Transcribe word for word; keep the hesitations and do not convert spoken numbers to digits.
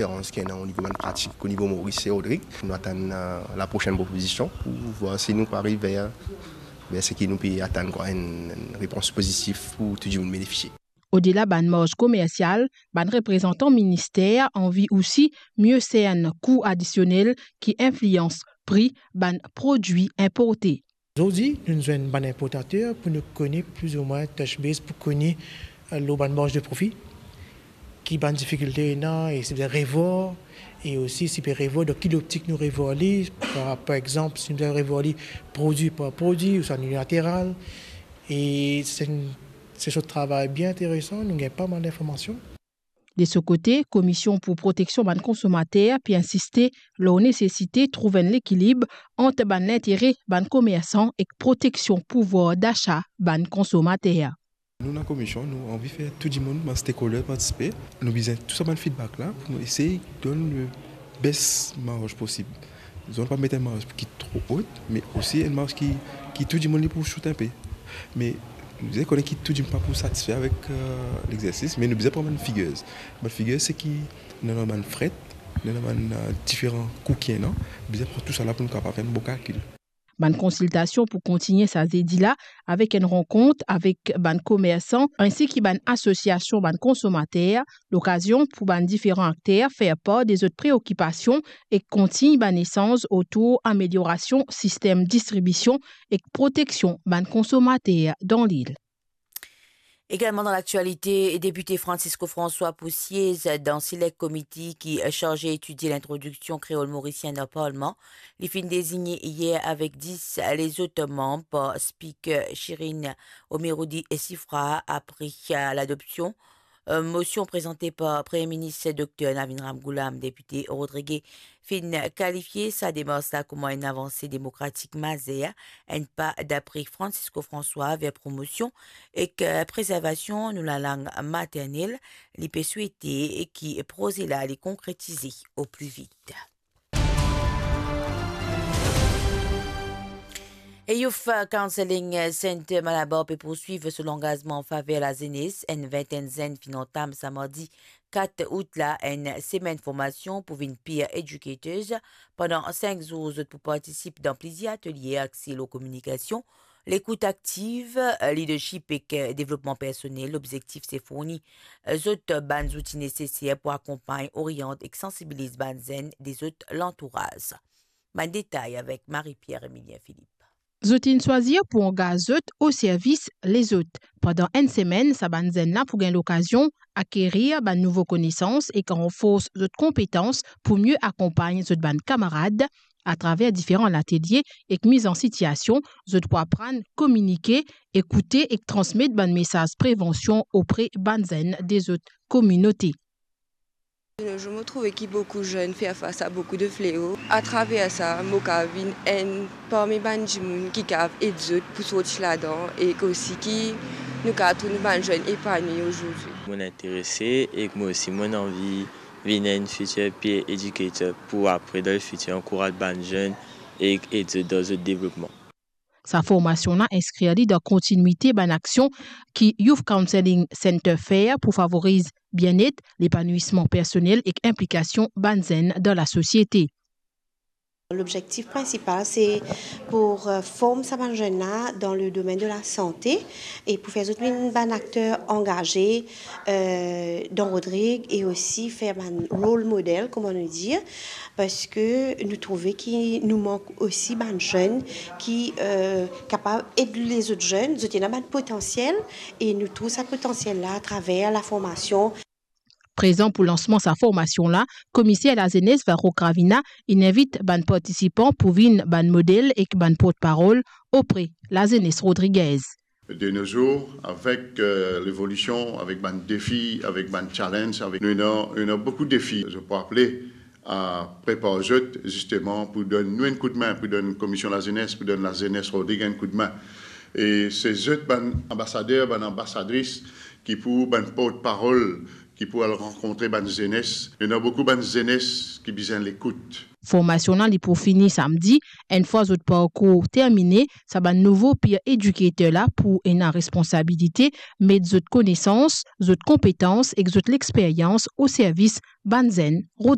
Diferans ki ena o nivo bann pratik o nivo Moris e Rodrig. Nou atann, eh, laprosenn propozision pou vwar si nou pou ariv ver, ver seki nou pe atann, kwa, enn, enn repons pozitif pou tou dimoun benefisie. Odela bann marz komersial, bann reprezantan minister anvi osi mie sern kou adisionel ki inflians pri bann prodwi inporte. Zordi, nou zwenn bann inportater pou nou kone plizoumwin touch base pou kone, eh, lor bann marz de profi, ki bann difikilte ena e si bizin revwar, e osi si pe revwar, dan ki loptik nou revwar li, par, par exanp, si nou bizin revwar li prodwi par prodwi ouswa unilateral, e se, se sort travay bien interesan, nou gagn pa mal linformasion. De so kote, Komisyon pou Proteksion bann Konsomater pe insiste lor nesesite trouv enn lekilib ant bann lintere bann komersan ek proteksion pouvwar dasa bann konsomater. Nou, dan komisyon, nou anvi fer tou dimoun, bann stakeholder, partisipe. Nou bizin tou sa bann feedback la pou nou esey donn le best marz posib. Zot pa met enn marz ki tro ot, me osi enn marz ki, ki tou dimoun li pou sout inpe. Me nou bizin kone ki tou dimoun pa pou satisfe avek, eh, lexersis, me nou bizin pran bann figures. Bann figures, se ki nou ena bann fret, nou ena bann, eh, diferan kou ki ena, bizin pran tou sa la pou nou kapav fer enn bon kalkil. Bann konsiltasion pou kontigne sa zedi la avek enn rankont avek bann komersan insi ki bann asosiasion bann konsomater, lokazion pou bann diferan akter fer par de zot preokipasion ek kontign bann esanz otour ameliorasion sistem distribision ek proteksion bann konsomater dan lil. Egalman dan laktialite, depite Francisco François pou siez dan Select Committee ki sarze etidie lintrodiksion kreol morisien dan Parlman. Li finn dezigne yer avek dis lezot manm par Spiker Shirin Omiroudi Sifra apre ladopsion, eh, mosion prezante par Premie Minis Dokter Navin Ramgoolam. Depite Rodriguez finn kalifie sa demars la kouma enn avanse demokratik mazer, enn pa dapre Francisco François ver promosion ek, eh, prezervasion nou lalang maternel. Li pe swete ki proze la li konkretize o pli vit. E Youth Counselling Center Malabar pe pourswiv so langazman an faver lazenes. Enn vintenn zenn finn antam sa mardi kat out la enn semenn formasion pou vinn peer educators. Pandan sink zour, zot pou partisip dan plizier atelye axe lor kominikasion, lekout aktiv, leadership ek devlopman personel. Lobzektif se fourni zot bann zouti neseser pou akonpagn, oriant ek sansibiliz bann zenn de zot lantouraz. Bann detay avek Marie-Pierre Emilien Philippe. Zot inn swazir pou angaz zot o servis lezot. Pandan enn semenn, sa bann zenn la pou gagn lokazion akerir bann nouvo konesans ek ranfors zot konpetans pou mie akonpagn zot bann kamarad. Atraver diferan latelye ek miz an sitiasion, zot pou aprann kominike, ekoute ek transmet bann mesaz prevansion opre bann zenn de zot kominote. De nos jours, mo trouve ki boukou zenn fer fas a boukou de fleo. Atraver sa, mo kav vinn enn parmi bann dimoun ki kav ed zot pou sorti ladan, ek osi ki nou kav trouv nou bann zenn epanwi azordi. Mo interese ek mo osi mo anvi vinn enn future peer educator pou apre dan lefitir ankouraz bann zenn ek ed zot dan zot devlopman. Sa formasion la inskrir li dan kontinwite bann aksion ki Youth Counselling Center fer pou favoriz bienet, lepanouisman personel ek inplikasion bann zenn dan lasosiete. Lobzektif prinsipal se pou, euh, form sa bann zenn la dan le domenn de lasante e pou fer zot vinn bann akter angaze, euh, dan Rodrig e osi fer bann role model, kouma nou dir, parski nou trouve ki nou mank osi bann zenn ki, euh, kapav ed lezot zenn, zot ena bann potansiel e nou trouv sa potansiel la atraver laformasion. Prezan pou lansman sa formasion la, Komiser Lazenes Varro Gravina inn invit bann partisipan pou vinn bann model ek bann portparol opre lazenes rodrigez. De nos jours, avec, euh, l'évolution, avec bann defi, avec bann challenge, avec, nou ena, nou ena boukou defi. Zot pou aple a prepar zot, zisteman, pou donn nou enn koudmin, pou donn Komision Lazenes, pou donn lazenes Rodrig enn koudmin. E se zot bann anbasader, bann anbasadris ki pou bann portparol, ki pou al rankontre bann zenes. Ena boukou bann zenes ki bizin lekout. Formasion la, li pou fini samdi. Enn fwa zot parkour termine, sa bann nouvo peer educator la pou ena responsabilite met zot konesans, zot konpetans ek zot lexperyans o servis bann zenn rod